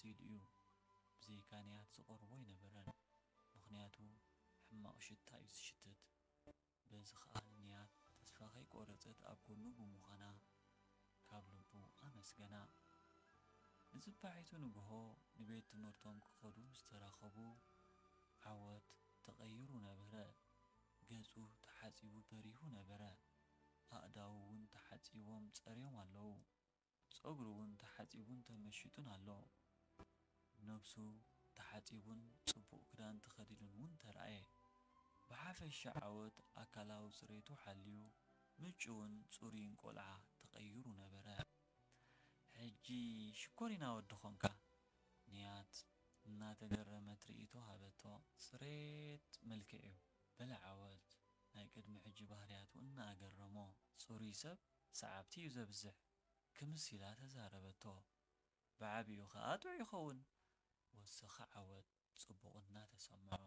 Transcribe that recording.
ቀሊል እዩ። ብዘይካ ንያት ዝቐርቦ ኣይነበረን፣ ምኽንያቱ ሕማቕ ሽታ እዩ ዝሽትት። በዚ ኸኣ ንንያት ተስፋ ከይቆረጸት ኣብ ጎኑ ብምዃና ካብ ልቡ ኣመስገና። ንጽባሒቱ ንግሆ ንቤት ትምህርቶም ክኸዱ ምስ ተራኸቡ፣ ዓወት ተቐይሩ ነበረ። ገጹ ተሓጺቡ በሪሁ ነበረ። ኣእዳዉ እውን ተሓጺቦም ጸርዮም ኣለዉ። ጸጉሩ እውን ተሓጺቡን ተመሺጡን ኣሎ። ነብሱ ተሓጺቡን ጽቡቕ ክዳን ተኸዲኑን እውን ተራእየ። ብሓፈሻ ዓወት ኣካላዊ ጽሬቱ ሓልዩ ምቹውን ጽሩይን ቆልዓ ተቐይሩ ነበረ። ሕጂ ሽኮሪና ወዲ ኾንካ፣ ንያት እናተገረመት ርእይቶ ሃበቶ። ጽሬት መልክዕ እዩ፣ በለ ዓወት ናይ ቅድሚ ሕጂ ባህርያቱ እናኣገረሞ። ጽሩይ ሰብ ሰዓብቲ እዩ ዘብዝሕ፣ ክምስ ኢላ ተዛረበቶ። ብዓቢኡ ኸኣ ጥዑይ ይኸውን፣ ወሰኸ ዓወት ጽቡቕ እናተሰምዖ።